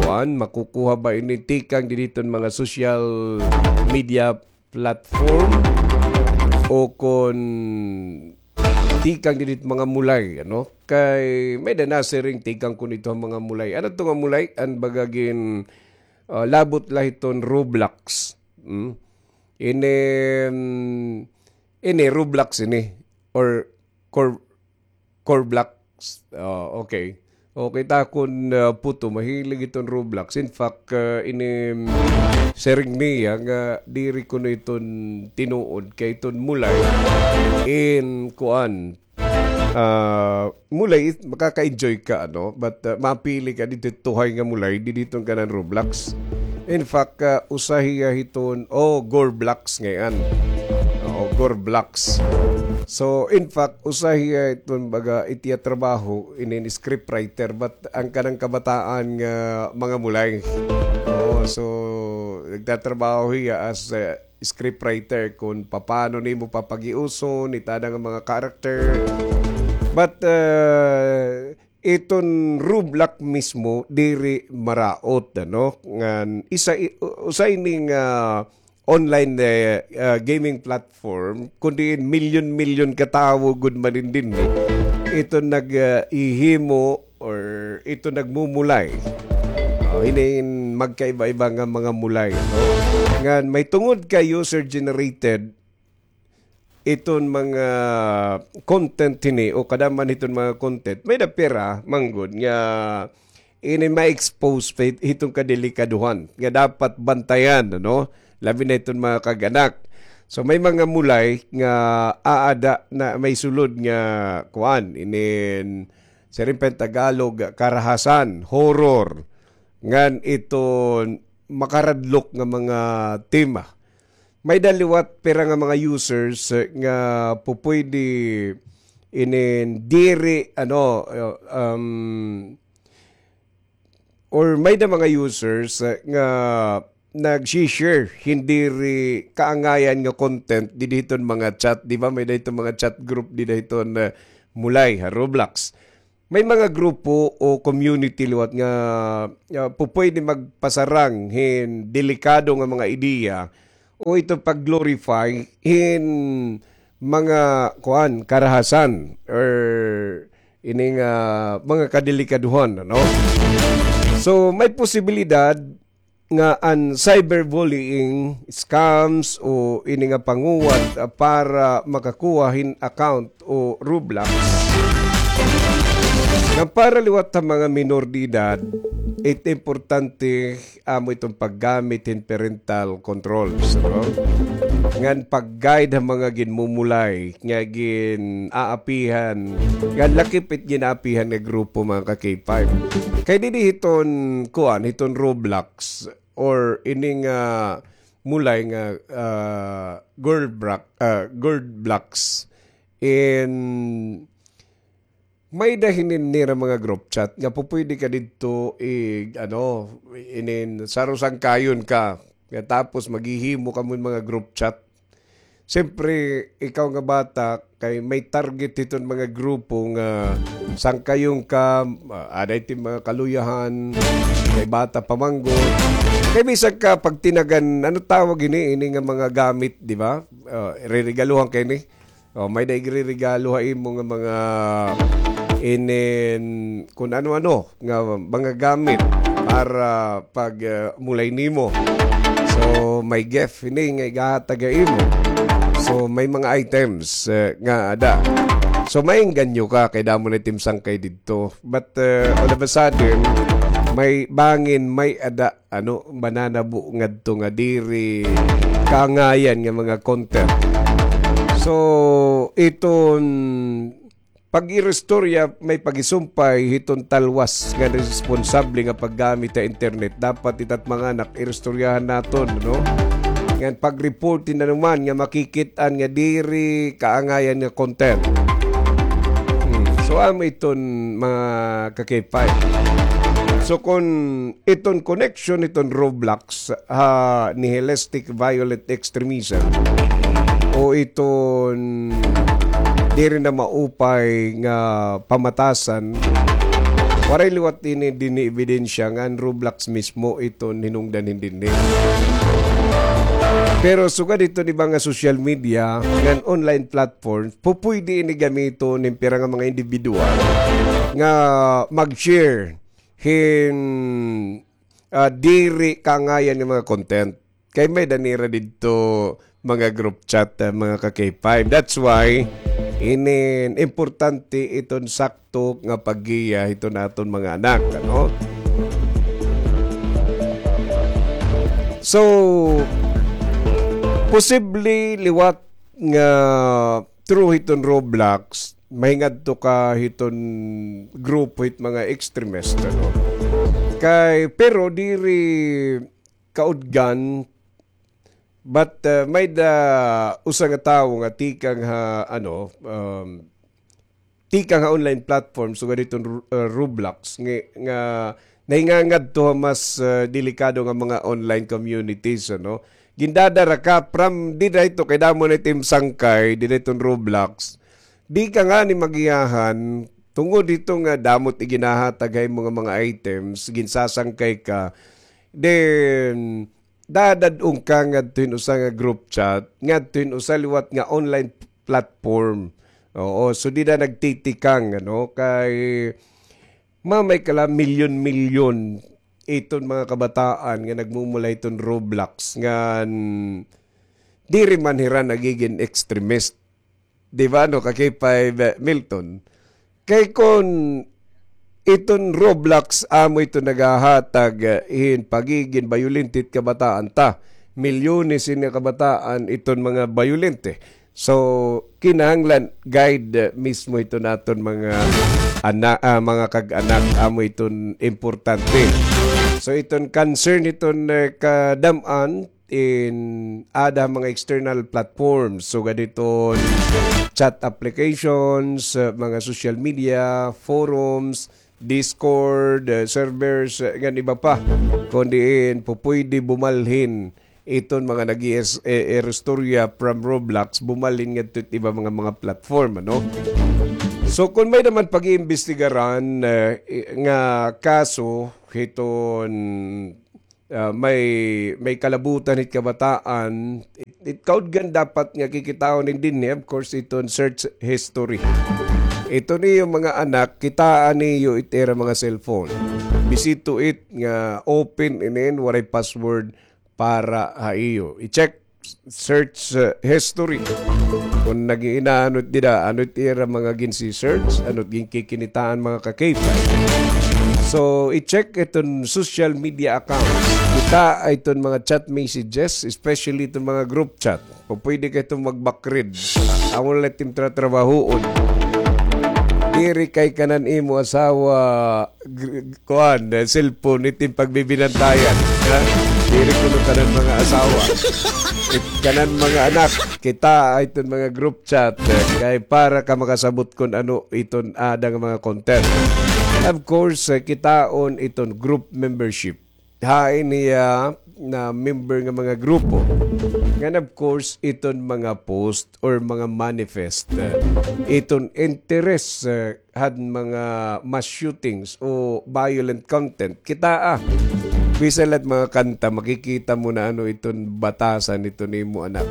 kuan? Makukuha ba ini tikang dihiton mga social media platform, o kon tikang didit mga mulay, ano? Kay may-ada nasiring tikang kon ito an mga mulay. Ano ito nga mulay? An baga gin, ah, labot la hiton Roblox. Hmm? Ini, mm, ini Roblox ini. Or Cor-, Corblox. Ah, okay. Okay, ta kon, ah, puto, mahilig iton Roblox. In fact, ah, ini, mm, siring niya nga diri kuno iton tinuod kay iton mulay in kuan. Ah, mulay, makaka-enjoy ka, ano? But, ah, mapili ka didto tuhay nga mulay, didto iton kanan Roblox. In fact, ah, usa hiya hiton, oh, Gorblox ngay-an. Oo, Gorblox. So, in fact, usa hiya iton baga it iya trabaho, inin scriptwriter, but an kanan kabataan nga mga mulay. Oo, so, nagtatrabaho hiya as a scriptwriter kon papaano nimo papagiuson it ada nga mga character. But, uh, iton Roblox mismo diri maraot, ano? Ngan isa i-, u-, usa ini nga online, eh, ah, gaming platform, kun diin milyon-milyon ka tawo gud man in dinhi. Ito nag, ah, ihimo or ito nagmumulay. Oh, ini in magkaiba-iba nga mga mulay, no? Ngan may tungod kay user generated iton mga content hini o kadam-an hiton mga content, may-ada pira man gud nga ini ma-expose pa hit-, hiton kadelikaduhan nga dapat bantayan, ano? Labi na hiton mga kag-anak. So, may mga mulay nga aada na may sulod nga kuan, inin, siring pa hin Tagalog, karahasan, horror, ngan iton makaradlok nga mga tema. May-ada liwat pira nga mga users, eh, nga pupuydi inin diri, ano, eh, um, or may-ada mga users, eh, nga nag-share hin diri kaangayan nga content didi hiton mga chat, di ba? May-ada hiton mga chat group didi hiton, eh, mulay ha Roblox. May mga grupo o community liwat nga, ah, pupuydi magpasarang hin delikado nga mga ideya o ito pag-glorify hin mga, kuan, karahasan or ini nga mga kadelikaduhan, ano? So, may posibilidad nga an cyberbullying, scams, o ini nga panguwat, ah, para makakuha hin account o Roblox. Nga para liwat ha mga minor de edad, it importante amo iton paggamit hin parental controls, no? Ngan pag-guide ha mga ginmumulay nga gin-aapihan, nga lakip it gin-aapihan nga grupo, mga ka-K five. Kay didi hiton, kuan, hiton Roblox, or ini nga mulay nga, ah, Girl Bra-, ah, Girl Blocks, in may-ada hinin nira mga group chat nga pupuydi ka didto i-, ano, inin sarosangkayon ka. Nga tapos maghihimo kamo hin mga group chat. Siyempre, ikaw nga bata, kay may target hiton mga grupo nga sangkayon ka, ah, aada hit mga kaluyahan, kay bata pa man gud. Kay bisan ka pagtinagan, ano tawag ini, ini nga mga gamit, di ba? Ah, reregaluhan ka ini. O, may-ada igreregalo ha imo nga mga inin kun ano-ano nga mga gamit para pag, ah, mulay nimo. So, may gift ini nga igahatag ha imo. So, may mga items, eh, nga ada. So, maengganyo ka kay damo na it im sangkay didto. But, eh, all of a sudden, may bangin, may ada, ano, mananabo ngadto nga diri kaangayan nga mga content. So, iton pag-iristorya may pagisumpay hiton talwas nga responsable nga paggamit ha internet. Dapat itat mga anak, iristoryahan naton, no? Ngan pag-report na naman nga makikit-an nga diri kaangayan nga content. Hmm. So, amo iton mga ka-K five. So, kung iton connection iton Roblox ha nihilistic violent extremism o iton diri na maupay nga pamatasan, waray liwat ini dinhi ebidensya nga an Roblox mismo iton hinungdan hin dinhi. Pero sugad iton iba nga social media ngan online platforms, pupuydi ini gamiton hin pira nga mga individual nga mag-share hin, ah, diri kaangayan nga mga content. Kay may-ada nira didto mga group chat, ah, mga ka-K five. That's why, inin importante iton sakto nga paggiya hiton aton mga anak, ano? So, posible liwat nga through hiton Roblox, mahingadto ka hiton grupo hit mga extremist, ano? Kay, pero diri kaudgan, but, uh, may-ada usa nga tawo nga tikang ha, ano, um, tikang ha online platform, sugad hiton Ru-, uh, Roblox, nga, nga nahingangadto ha mas, uh, delikado nga mga online communities, ano? Gindadara ka from dida hito kay damo na it im sangkay, dida hiton Roblox. Di ka ngani magiyahan, tungod hito nga damo it iginahatag ha imo nga mga items, ginsasangkay ka. Then, dadad-on ka ngadto hin usa nga group chat, ngadto hin usa liwat nga online platform. Oo, so dida nagtitikang, ano, kay mamay ka la milyon-milyon iton mga kabataan nga nagmumula hiton Roblox ngan diri man hira nagigin extremist. Di ba, no, ka-K five, eh, Milton? Kay kon iton Roblox amo iton nagahatag, eh, hin pagigin bayolente hit kabataan ta. Milyones ini nga kabataan iton mga bayolente. So, kinahanglan guide, eh, mismo iton aton mga ana-, ah, mga kag-anak, amo iton importante. So, iton concern iton, eh, kadam-an in aada ha mga external platforms. Sugad hiton chat applications, uh, mga social media, forums, Discord, uh, servers, uh, ngan iba pa. Kon diin, pupuydi bumalhin iton mga nag-iis-, eh, iristorya from Roblox, bumalhin ngadto hit iba mga, mga platform, ano? So, kon may-ada man pag-iimbestigaran, uh, i-, nga kaso hiton ah, may, may kalabutan hit kabataan, it, it kaudgan dapat nga kikitaon hin dinhi, of course, iton search history. Iton iyo mga anak, kitaa niyo it ira mga cellphone. Bisito it nga open inin, waray password para ha iyo. I-check search, uh, history. Kon nag-iina, ano it dida, ano it ira mga ginsi-search, ano it ginkikinitaan mga ka-K five. So, i-check iton social media accounts. Kitaa iton mga chat messages, especially iton mga group chat. Pupuydi ka iton mag-back read. Amo la it im tratrabahoon. Diri kay kanan imo asawa gr-, kuan, eh, cellphone, it im pagbibinantayan. Ha? Diri kuno kanan mga asawa. It kanan mga anak, kitaa iton mga group chat, eh, kay para ka makasabot kon ano iton aada nga mga content. Of course, eh, kitaon iton group membership. Hain hiya na member nga mga grupo. Ngan of course, iton mga post or mga manifest, eh, iton interest, eh, han mga mass shootings o violent content. Kitaa, bisan la it mga kanta, makikita mo na ano iton batasan iton imo anak.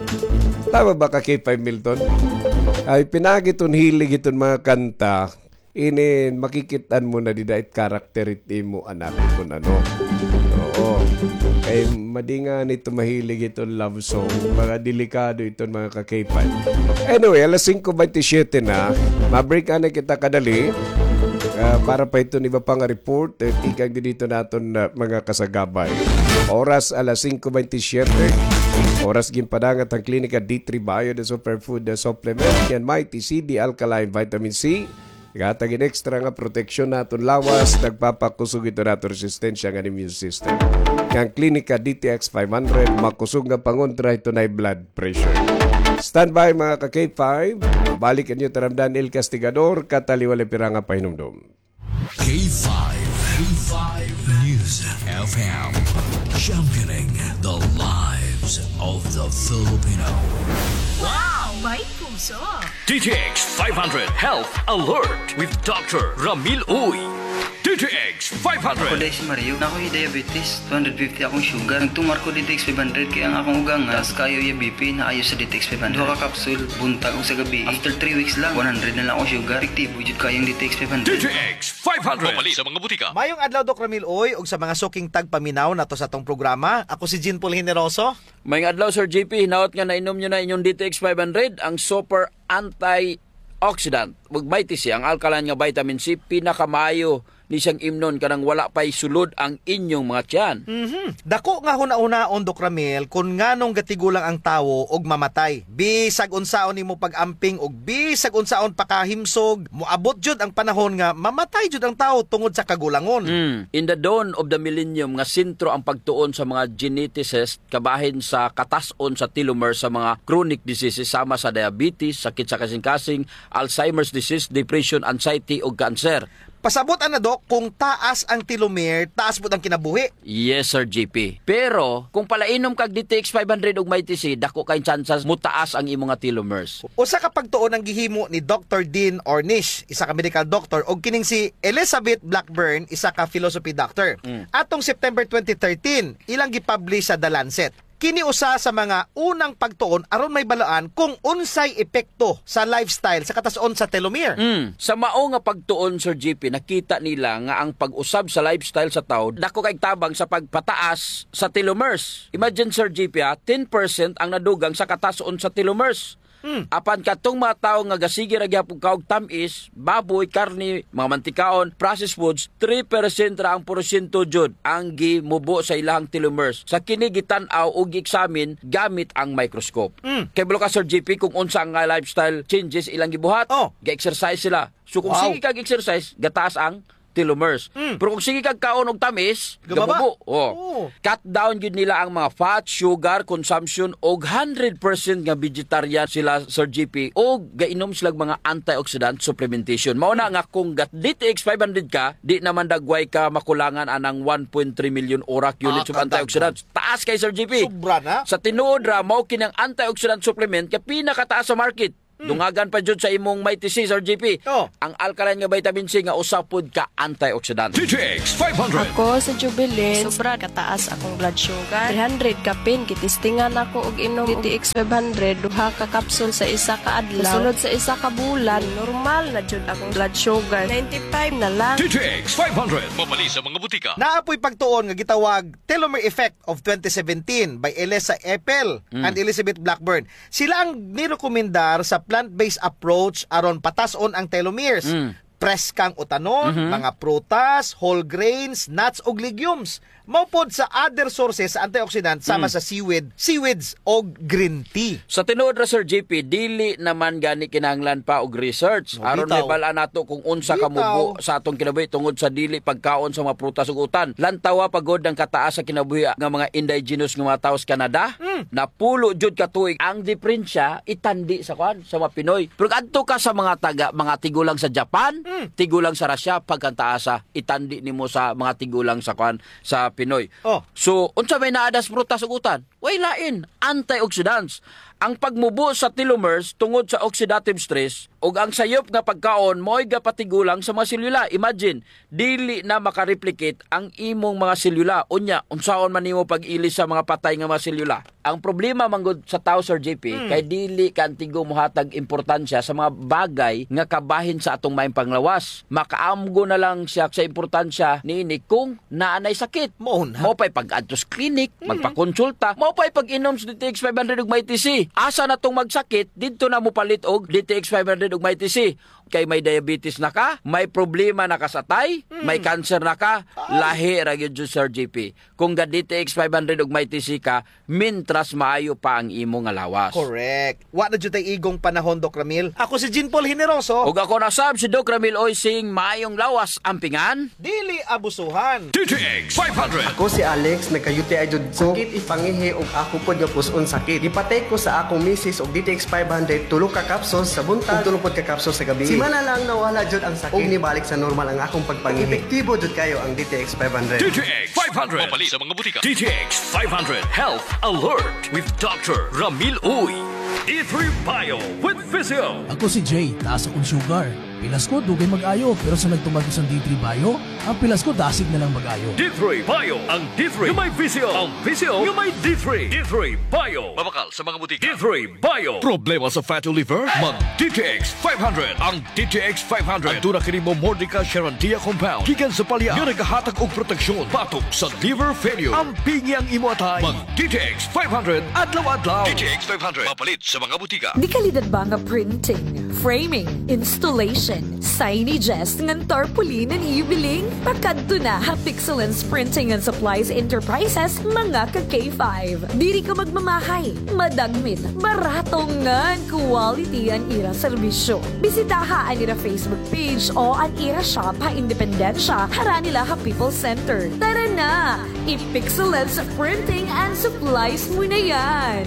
Tama ba ka, K five Milton? Ay, pinaagi iton hilig iton mga kanta, inin makikit-an mo na dida it character it imo anak kon ano. Oo. Kay madingan ito mahilig iton love song. Mga delikado iton mga ka-K five. Anyway, alas singko baynte siyete na. Ma-break anay kita kadali. Ah, para pa iton iba pa nga report, eh, tikang didto naton, ah, mga kasagabay. Oras alas singko baynte siyete. Oras ginpadangat an Klinika D three Bio, the superfood, the supplement, ngan Mighty C, the alkaline vitamin C. Naghatag hin extra nga proteksyon ha aton lawas, nagpapakusog hito ha aton resistensya ngan immune system. Ngan Klinika D T X five hundred, makusog nga pangontra hito high blood pressure. Standby, mga ka K five. Balik an iyo taramdan, El Castigador, kataliwala pira nga pahinumdom. K five, K five News F M, championing the lives of the Filipino. Wow! May puso! D T X five hundred Health Alert with Doctor Ramil Uy. D T X five hundred. Ako, Daisy Mario, naa ko hi diabetes, two hundred fifty akong sugar. Nagtumar ko D T X five hundred kay ang akong ugangan, taas kaayo iya B P, naayo sa D T X five hundred. Duha ka kapsul, buntag ug sa gabii. After three weeks lang, one hundred na lang akong sugar. Epektibo jud kaayo ang D T X five hundred. D T X five hundred. Mapalit sa mga butika. Mayong adlaw, Doc Ramil Uy, ug sa mga suking tagpaminaw nato sa atong programa. Ako si Jean Paul Generoso. Mayong adlaw, Sir J P. Hinaot nga nainom niyo na inyong D T X five hundred, ang super antioxidant. Ug Mighty C, ang alkaline nga vitamin C, pinakamaayo ni siyang imnon kanang wala pa'y sulod ang inyong mga tiyan. Mhm. Dako nga hunahunaon, Doc Ramil, kun nganong gatigulang ang tawo og mamatay. Bisag unsaon nimo pag-amping og bisag unsaon pakahimsog, moabot jud ang panahon nga mamatay jud ang tawo tungod sa kagulangon. Mm. In the dawn of the millennium, nga sentro ang pagtuon sa mga geneticist kabahin sa katas-on sa telomere sa mga chronic diseases sama sa diabetes, sakit sa kasingkasing, Alzheimer's disease, depression, anxiety, ug cancer. Pasabot ana, Doc, kung taas ang telomere, taas pud ang kinabuhi. Yes, Sir J P. Pero kung palainom kag D T X five hundred ug Mighty C, dako kay tsansas mutaas ang imo nga telomeres. Usa ka pagtuon ang gihimo ni Doctor Dean Ornish, isa ka medical doctor, ug kining si Elizabeth Blackburn, isa ka philosophy doctor. Mm. Atong September twenty thirteen, ilang gipublish sa The Lancet. Kini usa sa mga unang pagtuon aron mahibaluan kung unsay epekto sa lifestyle sa katas-on sa telomere. Mm. Sa mao nga pagtuon, Sir J P, nakita nila nga ang pag-usab sa lifestyle sa tawo dako kay tabang sa pagpataas sa telomeres. Imagine, Sir J P, ha, ten percent ang nadugang sa katas-on sa telomeres. Hmm. Apan katong mga tawo nga gasige ra gihapon kaon og tam-is, baboy, karne, mga mantikaon, processed foods, three percent ra ang porsyento jud ang gimubo sa ilahang telomeres. Sa kini gitan-aw ug gi-examine gamit ang microscope. Hmm. Kay balo ka, Sir J P, kung unsa nga lifestyle changes ilang gibuhat, oh, ga-exercise sila. So kung, wow, sige kag exercise, gataas ang telomeres. Mm. Pero kung sige kag kaon og tamis, gababa, gamubo. Oh. Oo. Cut down gyud nila ang mga fat, sugar consumption, og hundred percent nga vegetarian sila, Sir J P, og gainom sila mga antioxidant supplementation. Mao na nga kung gat D T X five hundred ka, di naman dagway ka makulangan anang one point three million orak units of antioxidants. Ah, kadaghan. Taas kay, Sir J P. Sobra na. Sa tinuod ra, mao kini ang antioxidant supplement kay pinakataas sa market. Hmm. Dungagan pa jud sa imong Mighty C, Sir J P. Oh. Ang alkaline nga vitamin C nga usa pod ka antioxidant. D T X five hundred. Ako si Jubilin. Sobra kataas akong blood sugar. Three hundred kapin, gitistingan ako og inom D T X five hundred, duha ka kapsul sa isa ka adlaw. Sa sulod sa isa ka bulan, normal na jud akong blood sugar. Ninety-five na lang. D T X five hundred. Mapalit sa mga butika. Naa poy pagtuon nga gitawag telomere effect of twenty seventeen by Elisa Eppel, mm, and Elizabeth Blackburn. Sila ang nirekomendar sa plant-based approach aron patas-on ang telomeres. Mm. Preskang utanon, mhm, mga prutas, whole grains, nuts, ug legumes. Mao pod sa other sources sa antioxidant sama, mm, sa seaweed, seaweeds, og green tea. Sa tinuod ra, Sir J P, dili naman gani kinahanglan pa og research. Oh, aron bitaw. Mabal-an nato kung unsa, bitaw, kamubo sa atong kinabuhi tungod sa dili pagkaon sa mga prutas ug utan. Lantawa pa gud ang kataas sa kinabuhi nga mga indigenous nga mga tawo sa Canada. Mm. Napulo jud ka tuig. Ang diperensya, itandi sa kuan, sa mga Pinoy. Pero adto ka sa mga taga, mga tigulang sa Japan, mm, tigulang sa Russia, pagkantaasa, itandi nimo sa mga tigulang sa kuan, sa Pinoy. Oh. So, unsa may naa das prutas ug utan? Way lain, antioxidants. Ang pagmubo sa telomeres tungod sa oxidative stress ug ang sayop nga pagkaon mao'y gapatigulang sa mga selula. Imagine, dili na makareplicate ang imong mga selula. Unya, unsaon man nimo pag-ilis sa mga patay nga mga selula? Ang problema man gud sa tawo, Sir J P, hmm, kay dili kaantigo mohatag importansya sa mga bagay nga kabahin sa atong maayong panglawas. Makaamgo na lang siya sa importansya niini kung naa nay sakit. Mao na. Mao pa'y pag-adto sa clinic, mm, magpakonsulta. Mao pa'y pag-inom sa D T X five hundred ug Mighty C. Asa na tong magsakit, didto na mopalit og D T X five hundred ug Mighty C. kay may diabetes na ka, may problema na ka sa atay, may cancer na ka, lahi ra gyud, Sir G P. Kung ga D T X five hundred ug Mighty C ka, mintras maayo pa ang imo nga lawas. Correct. Wa na jud tay igong panahon, Doc Ramil. Ako si Jean Paul Generoso. Ug ako na sab si Doc Ramil Oysing, maayong lawas, ampingan. Dili abusuhan. D T X five hundred. Ako si Alex, nagka-U T I jud ko. Sakit it pangihi ug ako pod nga pus-on sakit. Gipatake ko sa akong misis og D T X five hundred, tulo ka capsules sa buntag ug tulo pod ka capsules sa gabii. Simana lang nawala jud ang sakit ug nibalik sa normal ang akong pagpangihi. Epektibo jud kayo ang D T X five hundred. D T X five hundred. Mapalit sa mga butika. D T X five hundred Health Alert with Doctor Ramil Uy. D three Bio with Physio. Ako si Jay, taas akong sugar. Pilas ko, dugay mag-ayo, pero sa nagtuman ko sa D three Bio, ang pilas ko dasig na lang mag-ayo. D three Bio, ang D three nga may Physio, ang Physio nga may D three. D three Bio. Mabakal sa mga butika. D three Bio. Problema sa fatty liver? Mag D T X five hundred. Ang D T X five hundred. Aduna kini Momordica charantia compound gikan sa palya nga nagahatag og proteksyon batok sa liver failure. Ampingi ang imo atay. Mag D T X five hundred adlaw-adlaw. D T X five hundred. Mapalit sa mga butika. Dekalidad ba nga printing, framing, installation, signages ngan tarpaulin an ibiling? Pakadto na ha Pixelance Printing and Supplies Enterprises, mga ka K five. Diri ka magmamahay, madagmit, barato ngan quality an ira serbisyo. Bisitaha an ira Facebook page o an ira shop ha Independencia, harani la ha People's Center. Tara na! I-Pixelance Printing and Supplies mo na yan!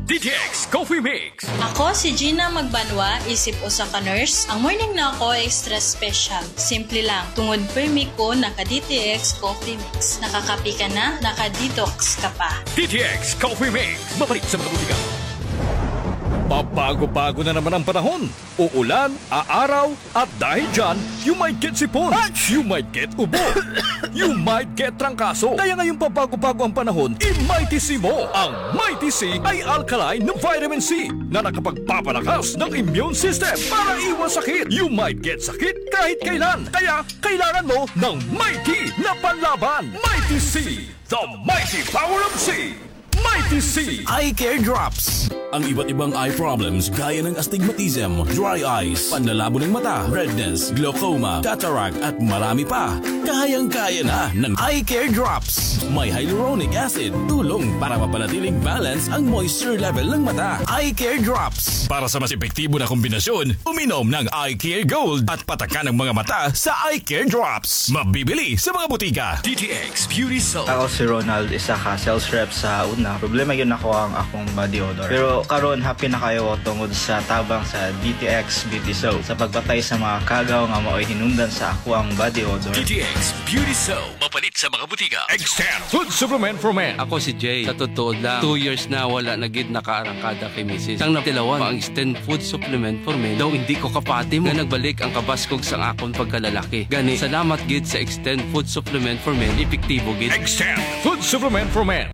D T X Coffee Mix. Ako si Gina Magbanwa, isip usa ka nurse. Ang morning na ako extra special. Simple lang, tungod permi ko naka D T X Coffee Mix. Nakakape ka na, naka-detox ka pa. D T X Coffee Mix. Mapalit sa mga butika. Pabago-bago na naman ang panahon. Uulan, aaraw, at dahil dyan, you might get sipon, you might get ubo, you might get trangkaso. Kaya ngayong pabago-bago ang panahon, i-Mighty C mo. Ang Mighty C ay alkaline na vitamin C na nakapagpapalakas ng immune system para iwas sakit. You might get sakit kahit kailan. Kaya kailangan mo ng Mighty na panlaban. Mighty C, the mighty power of C. Mighty C. Eye Care Drops. Ang iba't ibang eye problems gaya ng astigmatism, dry eyes, panlalabo ng mata, redness, glaucoma, cataract, at marami pa. Kayang-kaya na ng Eye Care Drops. May hyaluronic acid, tulong para mapanatiling balance ang moisture level ng mata. Eye Care Drops. Para sa mas epektibo na kombinasyon, uminom ng Eye Care Gold at patakan ang mga mata sa Eye Care Drops. Mabibili sa mga butika. D T X Beauty Soap. Ako si Ronald, isa ka sales rep sa una. Problema gyud nako ang akong body odor. Pero karon, happy na kaayo ako tungod sa tabang sa D T X Beauty Soap sa pagpatay sa mga kagaw nga maoy hinungdan sa akoang body odor. D T X Beauty Soap. Mapalit sa mga butika. Extend Food Supplement for Men. Ako si Jay. Sa totoo lang, two years na wala na gid nakaarangkada kay misis. Sang natilawan pa ang Extend Food Supplement for Men, daw indi ko kapati mo nga nagbalik ang kabaskog sang akon pagkalalaki. Gani, salamat gid sa Extend Food Supplement for Men, epektibo gid. Extend Food Supplement for Men.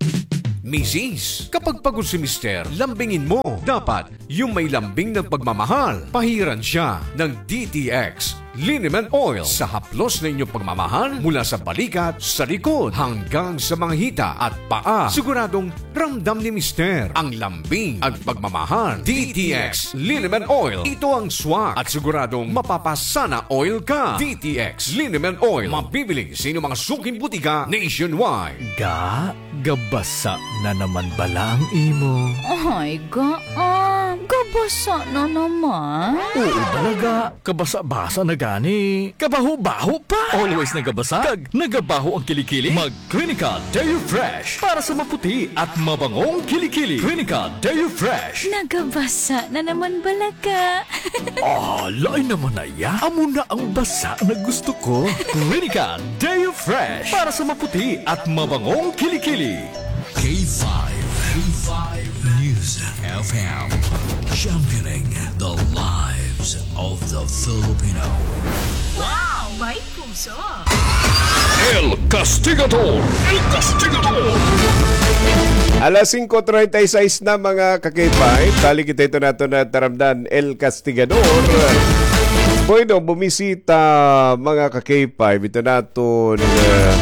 Misis, kapag pagod si Mister, lambingin mo. Dapat, yung may lambing ng pagmamahal. Pahiran siya ng D T X Liniment Oil sa haplos na inyong pagmamahal mula sa balikat, sa likod, hanggang sa mga hita at paa. Siguradong ramdam ni Mister ang lambing at pagmamahal. D T X Liniment Oil. Ito ang swak at siguradong mapapasana oil ka. D T X Liniment Oil. Mabibili sa inyong mga suking butika nationwide. Ga, gabasa na naman bala ang imo. Ay, ga, ah, gabasa na naman. Oo, bala, ga. Kabasa-basa na gani. Kabaho-baho pa. Always nagabasa. Kag nagabaho ang kilikili. Mag Clinica Deo Fresh para sa maputi at mabangong kilikili. Clinica Deo Fresh. Nagabasa na naman bala ka. Ah, lain naman na iya. Amo na ang basa na gusto ko. Clinica Deo Fresh para sa maputi at mabangong kilikili. K five, K five News F M, championing the lives of the Filipino. Wow! May puso! El Castigador! El Castigador! Alas singko treinta y seis na, mga ka-K five. Balik kita ito nato na taramdan, El Castigador. Bueno, bumisita, mga ka-K five, ito naton, uh,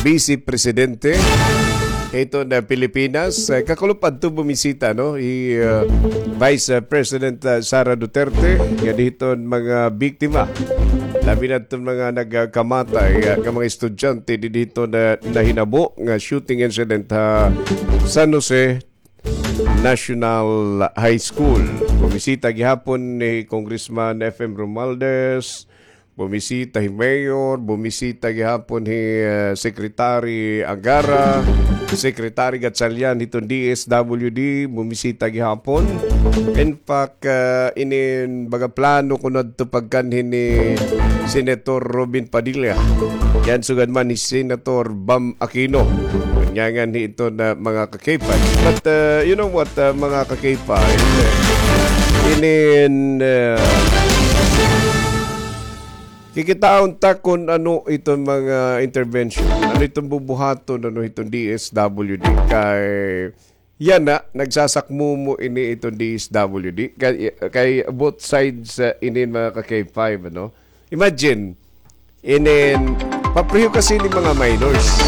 Vice Presidente. hiton, ah, Pilipinas. Ah, kakulop adto bumisita, no, hi, ah, Vice, ah, President, ah, Sara Duterte, nga didto mga biktima. Labi na adto mga nagkamatay, ah, nga mga estudyante didto na nahinabo nga shooting incident ha San Jose National High School. Bumisita gihapon ni Congressman F M Romualdez, bumisita hi Mayor, bumisita gihapon hi, eh, Secretary Angara, Secretary Gatchalian hiton D S W D, bumisita gihapon. In fact, eh, inin baga plano kuno adto pagkanhi ni Senator Robin Padilla. Yan sugad man ni Senator Bam Aquino. Nganhi ito na mga ka-K five. But, uh, you know what, uh, mga ka-K five, uh, inin, uh, kikitaon ta kun ano iton mga intervention. Ano iton bubuhaton, ano iton D S W D kay yana, nagsasakmumo ini iton D S W D. Kay, kay both sides, uh, inin mga ka-K five, ano? Imagine, inin, papriho kasi ni mga minors.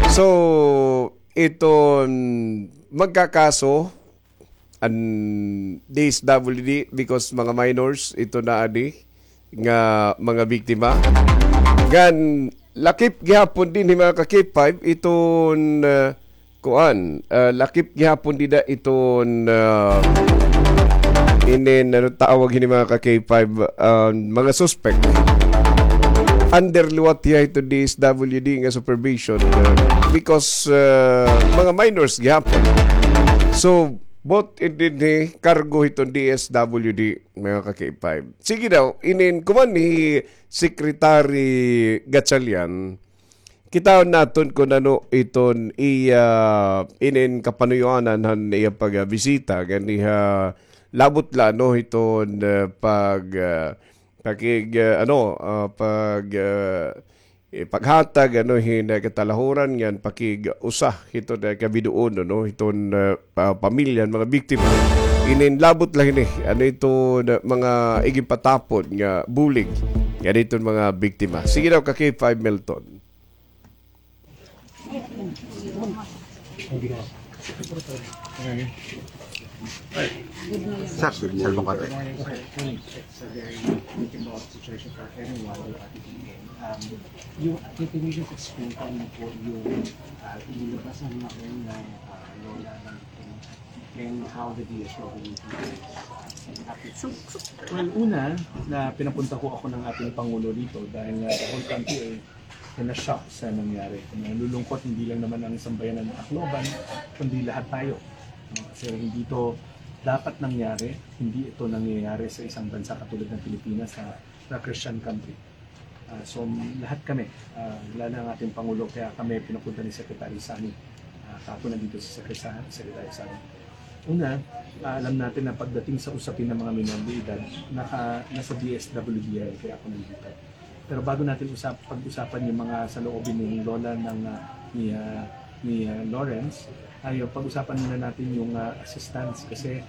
So, iton magkakaso an D S W D because mga minors ito na adi nga mga biktima. Ngan lakip gihapon dinhi mga ka-K five iton, uh, kuan, uh, lakip gihapon dida iton, uh, inin, ano tawag hini mga ka-K five, uh, mga suspect. Under liwat hiya hiton D S W D nga supervision, uh, because, uh, mga minors gihapon. So, both in dinhi kargo hiton D S W D, mga ka-K five. Sige daw, inin kuman ni Secretary Gatchalian, kitaon naton kun ano iton iya inin kapanuyoanan han iya pagbisita ganiha, labot la, no, hiton, uh, pag, uh, pakig, uh, ano, uh, pag, uh, eh, paghatag, ano, hin, uh, katalahuran ngan pakig-usa hiton, uh, kabidoon, ano, hiton, uh, pa-, pamilya han mga biktima. Inin labot la hini, ano, iton, uh, mga iginpatapon nga bulig ngan iton mga biktima. Sige daw, ka-K five Milton. Sir, sir, sir, baka. It's a very difficult situation for everyone. Um, you, can you just explain kami po yung, ah, inilabas ng mga, ng, ah, lola ng, and how the D S W is, ah, affected? Well, una, na pinapunta ho ako ng ating Pangulo dito dahil nga the whole country ay na-shock sa nangyari. Nalulungkot, hindi lang naman ang sambayanan ng Tacloban, kundi lahat tayo. Kasi hindi ito dapat nangyari, hindi ito nangyayari sa isang bansa katulad ng Pilipinas na, na Christian country. Ah, so, lahat kami, ah, lalo ang ating Pangulo, kaya kami pinapunta ni Secretary Sonny. Ah, kahapon nandito si Secretary, Secretary Sonny. Una, ah, alam natin na pagdating sa usapin ng mga minor de edad, naka, nasa D S W D yan, kaya ako nandito. Pero bago natin usap-, pag-usapan yung mga saloobin ni Lola ng, ah, ni, ah, ni, ah, Lawrence, ay, pag-usapan muna natin yung, ah, assistance kasi